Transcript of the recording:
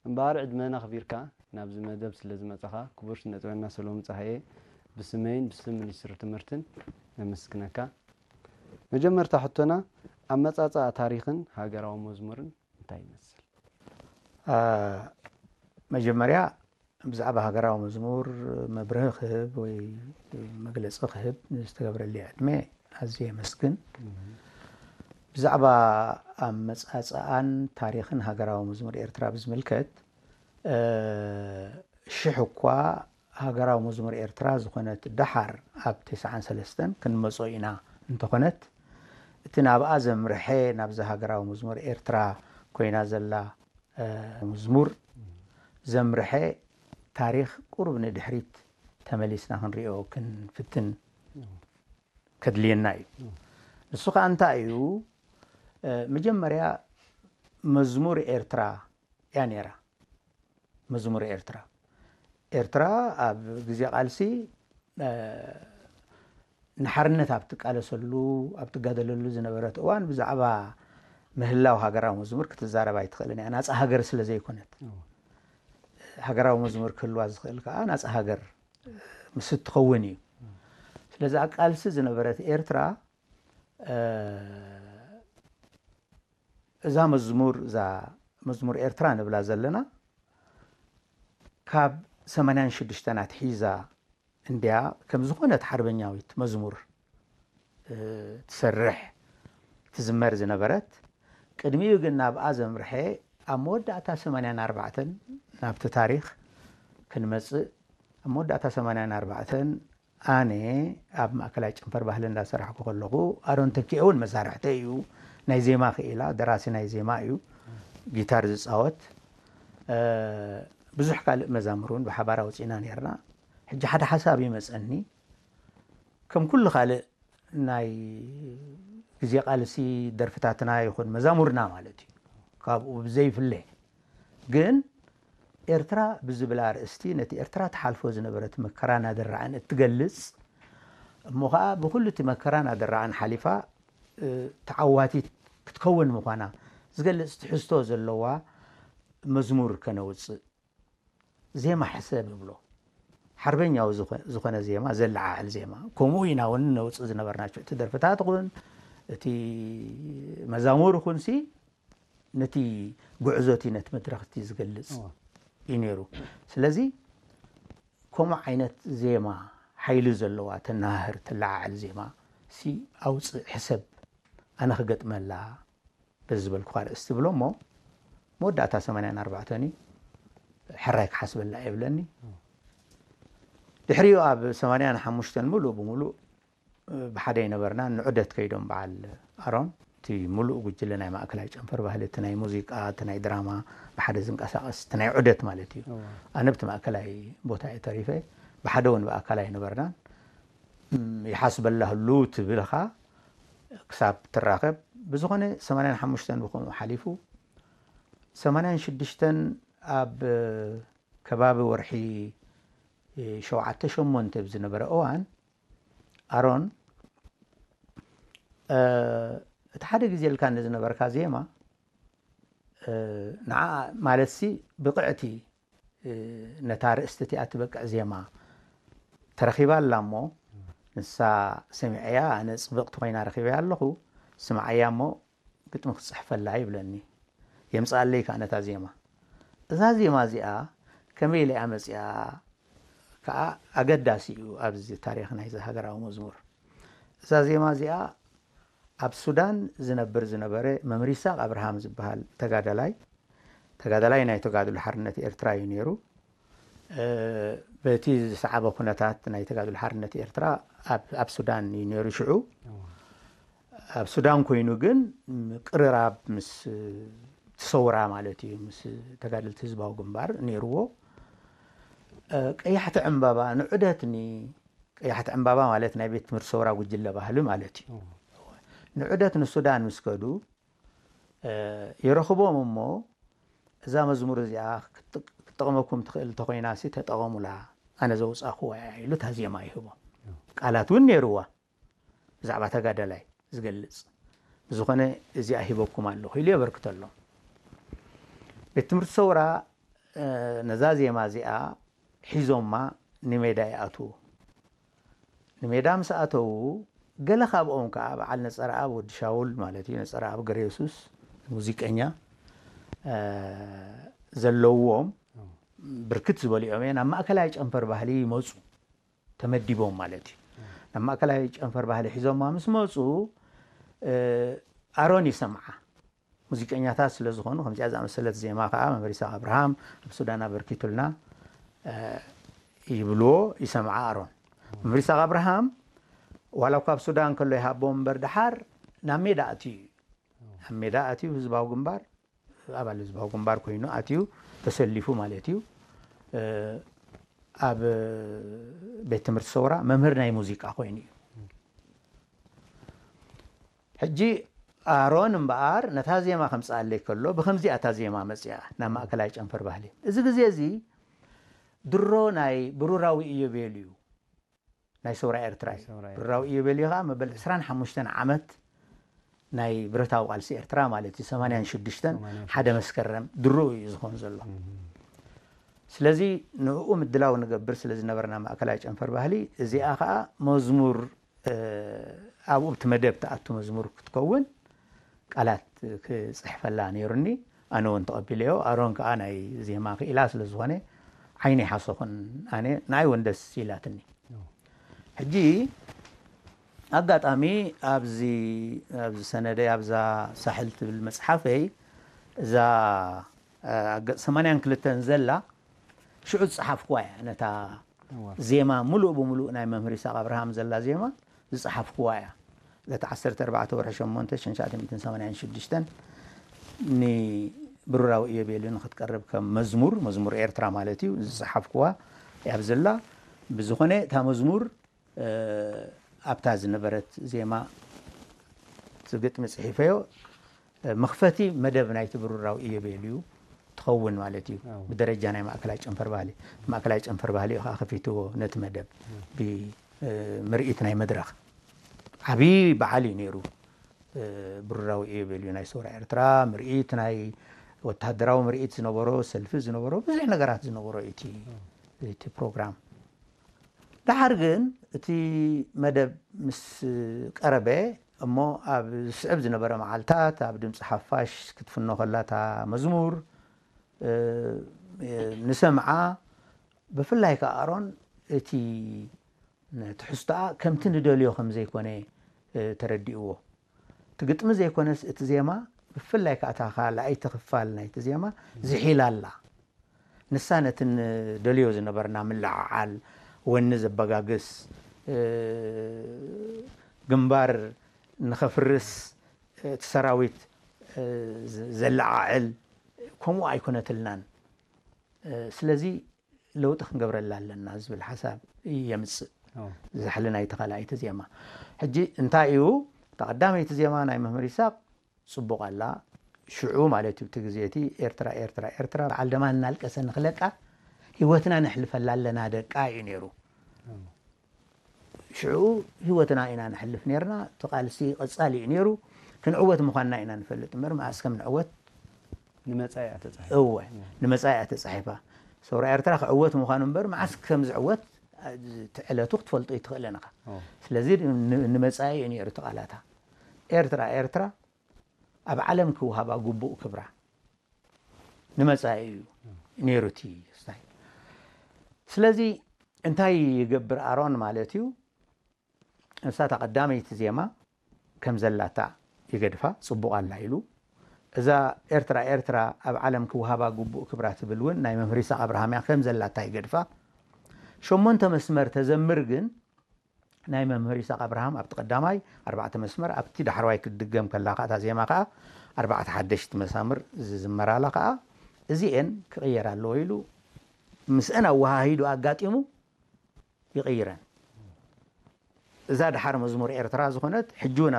እምበኣር ዕድመና ኣኽቢርካ ናብዚ መደብ ስለ ዝመጻኻ ክቡር ስነ ጥበበኛ ሰሎሙን ጸሃየ ብስመይን ብስም ሚኒስትሪ ትምህርትን ነመስግነካ። መጀመርታ ሕቶና፣ ኣመጻጽኣ ታሪኽን ሃገራዊ መዝሙርን እንታይ ይመስል? መጀመርያ ብዛዕባ ሃገራዊ መዝሙር መብርሂ ክህብ ወይ መግለፂ ክህብ ንዝተገብረለይ ዕድመ ኣዝየ የመስግን። ብዛዕባ ኣመፃፅኣን ታሪኽን ሃገራዊ መዝሙር ኤርትራ ብዝምልከት ሽሕ እኳ ሃገራዊ መዝሙር ኤርትራ ዝኾነት ደሓር ኣብ ተስዓን ሰለስተን ክንመጾ ኢና እንተኾነት እቲ ናብኣ ዘምርሐ ናብዛ ሃገራዊ መዝሙር ኤርትራ ኮይና ዘላ መዝሙር ዘምርሐ ታሪኽ ቁሩብ ንድሕሪት ተመሊስና ክንሪኦ ክንፍትን ከድልየና እዩ። ንሱ ከዓ እንታይ እዩ? መጀመርያ መዝሙር ኤርትራ እያ ነይራ። መዝሙር ኤርትራ ኤርትራ ኣብ ግዜ ቃልሲ ንሓርነት ኣብ ትቃለሰሉ ኣብ ትጋደለሉ ዝነበረት እዋን ብዛዕባ ምህላው ሃገራዊ መዝሙር ክትዛረብ ኣይትኽእልን እያ። ናፃ ሃገር ስለ ዘይኮነት ሃገራዊ መዝሙር ክህልዋ ዝኽእል ከዓ ናፃ ሃገር ምስ እትኸውን እዩ። ስለዚ ኣብ ቃልሲ ዝነበረት ኤርትራ እዛ መዝሙር እዛ መዝሙር ኤርትራ ንብላ ዘለና ካብ ሰማንያን ሽዱሽተን ኣትሒዛ እንድያ ከም ዝኾነት ሓርበኛዊት መዝሙር ትሰርሕ ትዝመር ዝነበረት። ቅድሚኡ ግን ናብኣ ዘምርሐ ኣብ መወዳእታ ሰማንያን ኣርባዕተን ናብቲ ታሪኽ ክንመጽእ ኣብ መወዳእታ ሰማንያን ኣርባዕተን ኣነ ኣብ ማእከላይ ጨንፈር ባህሊ እንዳሰራሕኩ ከለኹ ኣሮን ተኪኤ እውን መሳርሕተይ እዩ። ናይ ዜማ ክኢላ ደራሲ ናይ ዜማ እዩ። ጊታር ዝፃወት ብዙሕ ካልእ መዛሙር እውን ብሓባር ኣውፂእና ነርና። ሕጂ ሓደ ሓሳብ ይመፀኒ። ከም ኩሉ ካልእ ናይ ግዜ ቃልሲ ደርፍታትና ይኹን መዛሙርና ማለት እዩ ካብኡ ብዘይፍለ ግን ኤርትራ ብዝብል ኣርእስቲ ነቲ ኤርትራ ትሓልፎ ዝነበረት መከራን ኣደራዕን እትገልጽ እሞ ኸዓ ብኩሉ እቲ መከራን ኣደራዕን ሓሊፋ ተዓዋቲት ክትከውን ምዃና ዝገልጽ ትሕዝቶ ዘለዋ መዝሙር ከነውጽእ ዜማ ሕሰብ ይብሎ ሓርበኛዊ ዝኾነ ዜማ ዘለዓዕል ዜማ ከምኡ ኢና እውን ነውፅእ ዝነበርና እቲ ደርፍታት ኹን እቲ መዛሙር ኹን ሲ ነቲ ጉዕዞ እቲ ነቲ መድረኽ እቲ ዝገልፅ እዩ ነይሩ። ስለዚ ከምኡ ዓይነት ዜማ ሓይሊ ዘለዋ ተናሃህር ተለዓዕል ዜማ ሲ ኣውፅእ ሕሰብ ኣነ ክገጥመላ በዚ ዝበልኩኻ ኣርእስቲ ብሎ እሞ መወዳእታ ሰማንያን ኣርባዕተን እዩ ሕራይ ክሓስበላ የብለኒ። ድሕሪኡ ኣብ ሰማንያን ሓሙሽተን ምሉእ ብምሉእ ብሓደ ይነበርና ንዑደት ከይዶም በዓል ኣሮን እቲ ሙሉእ ጉጅለ ናይ ማእከላይ ጨንፈር ባህሊ እቲ ናይ ሙዚቃ እቲ ናይ ድራማ ብሓደ ዝንቀሳቀስ እቲ ናይ ዑደት ማለት እዩ። ኣነ ብቲ ማእከላይ ቦታ እየ ተሪፈ ብሓደ እውን ብኣካል ኣይነበርናን። ይሓስበላ ህሉ ትብልኻ ክሳብ ትራኸብ ብዝኾነ ሰማንያን ሓሙሽተን ብኸምኡ ሓሊፉ ሰማንያን ሽዱሽተን ኣብ ከባቢ ወርሒ ሸውዓተ ሸሞንተ ብዝነበረ እዋን ኣሮን እቲ ሓደ ግዜ ኢልካ ንዝነበርካ ዜማ ንዓ ማለት ሲ ብቕዕቲ ነታ ርእስቲ እቲኣ ትበቅዕ ዜማ ተረኺባ ኣላ እሞ ንሳ ሰሚዐያ ኣነ ፅብቕቲ ኮይና ረኺበያ ኣለኹ ስምዓያ እሞ ግጥሚ ክፅሕፈላ ይብለኒ የምፅኣለይ ከዓ ነታ ዜማ እዛ ዜማ እዚኣ ከመይ ኢለ እያ መፅኣ ከዓ ኣገዳሲ እዩ ኣብዚ ታሪክ ናይዚ ሃገራዊ መዝሙር እዛ ዜማ እዚኣ ኣብ ሱዳን ዝነብር ዝነበረ መምህር ይስሐቅ ኣብርሃም ዝበሃል ተጋዳላይ ተጋዳላይ ናይ ተጋድሎ ሓርነት ኤርትራ እዩ ነይሩ በቲ ዝሰዓበ ኩነታት ናይ ተጋድሎ ሓርነት ኤርትራ ኣብ ሱዳን እዩ ነይሩ ሽዑ ኣብ ሱዳን ኮይኑ ግን ቅርራብ ምስ ትሰውራ ማለት እዩ ምስ ተጋደልቲ ህዝባዊ ግንባር ነይርዎ ቀያሕቲ ዕምባባ ንዑደት ኒ ቀያሕቲ ዕምባባ ማለት ናይ ቤት ትምህርቲ ሰውራ ጉጅለ ባህሊ ማለት እዩ ንዑደት ንሱዳን ምስ ከዱ ይረኽቦም እሞ እዛ መዝሙር እዚኣ ክትጠቕመኩም ትኽእል እንተኮይና ሲ ተጠቐሙላ ኣነ ዘውፃእኩዋ እያ ኢሉ እታ ዜማ ይህቦም ቃላት እውን ነይርዋ ብዛዕባ ተጋዳላይ ዝገልፅ ብዝኾነ እዚኣ ሂበኩም ኣለኹ ኢሉ የበርክተሎም ቤት ትምህርቲ ሰውራ ነዛ ዜማ እዚኣ ሒዞማ ንሜዳ ይኣትዉ። ንሜዳ ምስ ኣተዉ፣ ገለ ካብኦም ከኣ በዓል ነጸረኣብ ወዲ ሻውል ማለት እዩ፣ ነጸረኣብ ገረየሱስ ሙዚቀኛ ዘለዎም ብርክት ዝበሉ እዮም፣ ናብ ማእከላይ ጨንፈር ባህሊ ይመጹ፣ ተመዲቦም ማለት እዩ። ናብ ማእከላይ ጨንፈር ባህሊ ሒዞማ ምስ መጹ፣ ኣሮን ይሰምዓ። ሙዚቀኛታት ስለ ዝኾኑ፣ ከምዚኣ ዝኣመሰለት ዜማ ከኣ መምህር ይስሐቅ ኣብርሃም ኣብ ሱዳን ኣበርኪቱልና ይብልዎ፣ ይሰምዓ ኣሮን። መምህር ይስሐቅ ኣብርሃም ዋላ እኳ ኣብ ሱዳን ከሎ ይሃቦም እምበር፣ ደሓር ናብ ሜዳ ኣትዩ እዩ። ኣብ ሜዳ ኣትዩ ህዝባዊ ግንባር፣ ኣባል ህዝባዊ ግንባር ኮይኑ ኣትዩ ተሰሊፉ ማለት እዩ። ኣብ ቤት ትምህርቲ ሰውራ መምህር ናይ ሙዚቃ ኮይኑ እዩ። ሕጂ ኣሮን እምበኣር ነታ ዜማ ከምጽኣለይ ከሎ፣ ብኸምዚኣ እታ ዜማ መጺኣ ናብ ማእከላይ ጨንፈር ባህሊ። እዚ ግዜ እዚ ድሮ ናይ ብሩራዊ ኢዮቤልዩ ናይ ሰውራ ኤርትራ እዩ። ሰውራ ኤርትራ። ብሩራዊ ኢዮቤልዩ ከኣ መበል ዕስራን ሓሙሽተን ዓመት ናይ ብረታዊ ቃልሲ ኤርትራ ማለት እዩ። ሰማንያን ሽዱሽተን፣ ሰማንያን ሽዱሽተ። ሓደ መስከረም ድሮ እዩ ዝኾን ዘሎ። ስለዚ ንእኡ ምድላው ንገብር ስለ ዝነበርና ማእከላይ ጨንፈር ባህሊ፣ እዚኣ ከኣ መዝሙር፣ ኣብኡ እቲ መደብ ትኣቱ መዝሙር ክትከውን ቃላት ክጽሕፈላ ነይሩኒ። ኣነ እውን ተቐቢለዮ። ኣሮን ከኣ ናይ ዜማ ክኢላ ስለ ዝኾነ ዓይኒ ሓሶኹን ኣነ፣ ንኣይ እውን ደስ ኢላትኒ። ሕጂ ኣጋጣሚ ኣብዚ፣ ኣብዚ ሰነደይ፣ ኣብዛ ሳሕል ትብል መጽሓፈይ፣ እዛ ኣብ ገጽ ሰማንያን ክልተን ዘላ ሽዑ ዝጸሓፍኩዋ እያ። ነታ እዋ። ዜማ፣ ምሉእ ብምሉእ ናይ መምህር ይስሐቅ ኣብርሃም ዘላ ዜማ ዝጸሓፍኩዋ እያ። ዕለት ዓሰርተ ኣርባዕተ ወርሒ ሸሞንተ ሽሕን ትሽዓተ ሚእትን ሰማንያን ሽዱሽተን ንብሩራዊ ኢዮቤልዩ ንክትቀርብ ከም መዝሙር፣ መዝሙር ኤርትራ ማለት እዩ፣ ዝጸሓፍኩዋ እያ ዘላ። ብዝኾነ እታ መዝሙር፣ እ፣ ኣብታ ዝነበረት ዜማ እቲ ግጥሚ ጽሒፈዮ፣ እ፣ መኽፈቲ መደብ ናይቲ ብሩራዊ ኢዮቤልዩ ትኸውን ማለት እዩ። ኣዎ። ብደረጃ ናይ ማእከላይ ጨንፈር ባህሊ። ማእከላይ ጨንፈር ባህሊ እዩ ከኣ ከፊትዎ ነቲ መደብ። ብ፣ እ፣ ምርኢት ናይ መድረኽ። ዓቢ በዓል እዩ ነይሩ። እ፣ ብሩራዊ ኢዮቤልዩ ናይ ሰውራ ኤርትራ፣ ምርኢት ናይ ወተሃደራዊ ምርኢት ዝነበሮ፣ ሰልፊ ዝነበሮ፣ ብዙሕ ነገራት ዝነበሮ እዩ እቲ፣ እቲ ፕሮግራም። ደሓር ግን እቲ መደብ ምስ ቀረበ፣ እሞ ኣብ ዝስዕብ ዝነበረ መዓልታት ኣብ ድምጺ ሓፋሽ ክትፍኖ ከላ እታ መዝሙር፣ እ፣ ንሰምዓ። ብፍላይ ከኣ ኣሮን እቲ ትሕዝቶኣ ከምቲ ንደልዮ ከም ዘይኮነ፣ እ፣ ተረዲእዎ። እቲ ግጥሚ ዘይኮነስ እቲ ዜማ፣ ብፍላይ ከኣ እታ ካልኣይቲ ክፋል ናይቲ ዜማ ዝሒላ ኣላ። ንሳ ነቲ ንደልዮ ዝነበርና ምልዕዓል፣ ወኒ ዘበጋግስ፣ እ፣ ግንባር ንኸፍርስ፣ እቲ ሰራዊት፣ እ፣ ዘ-፣ ዘለዓዕል፣ ከምኡ ኣይኮነትልናን። እ፣ ስለዚ ለውጢ ክንገብረላ ኣለና ዝብል ሓሳብ የምጽእ። ኣዎ። ዝሕሊ ናይቲ ካልኣይቲ ዜማ። ሕጂ እንታይ እዩ፣ እታ ቀዳመይቲ ዜማ ናይ መምህር ይስሐቅ ጽቡቕ ኣላ። ሽዑ ማለት እዩ፣ እቲ ግዜ እቲ ኤርትራ፣ ኤርትራ፣ ኤርትራ፣ በዓል ደማ እናልቀሰ ንኽለቃ፣ ህይወትና ነሕልፈላ ኣለና ደቃ እዩ ነይሩ። ኣዎ። ሽዑ ህይወትና ኢና ነሕልፍ ነይርና። እቲ ቃልሲ ቀጻሊ እዩ ነይሩ። ክንዕወት ምዃንና ኢና ንፈልጥ እምበር፣ መኣስ ከም ንዕወት ንመጻኢ እያ ተጻሒፋ። እወ፣ እወ። ንመጻኢ እያ ተጻሒፋ። ሰውራ ኤርትራ ክዕወት ምዃኑ እምበር፣ መዓስ ከም ዝዕወት፣ እቲ ዕለቱ ክትፈልጦ ኣይትኽእልን ኢኻ። ኣዎ። ስለዚ ን-፣ ንመጻኢ እዩ ነይሩ እቲ ቃላታ። ኤርትራ፣ ኤርትራ፣ ኣብ ዓለም ክወሃባ ግቡእ ክብራ። ንመጻኢ እዩ ነይሩ እቲ ስታይ። ስለዚ እንታይ ይገብር ኣሮን ማለት እዩ? ንሳ እታ ቀዳመይቲ ዜማ ከም ዘላታ ይገድፋ፣ ጽቡቕ ኣላ ኢሉ። እዛ ኤርትራ፣ ኤርትራ ኣብ ዓለም ክወሃባ ግቡእ ክብራ ትብል እውን ናይ መምህር ይስሐቅ ኣብርሃም እያ፣ ከም ዘላታ ይገድፋ። ሸሞንተ መስመር ተዘምር ግን ናይ መምህር ይስሐቅ ኣብርሃም ኣብቲ ቀዳማይ ኣርባዕተ መስመር፣ ኣብቲ ዳሕረዋይ ክትድገም ከላ ከኣ እታ ዜማ ከኣ ኣርባዕተ ሓደሽቲ መሳምር ዝዝመራላ ከኣ እዚኤን ክቕየራ ኣለዎ ኢሉ ምስአን ኣወሃሂዱ ኣጋጢሙ ይቕይረን። እዛ ደሓር መዝሙር ኤርትራ ዝኾነት ሕጂ እውን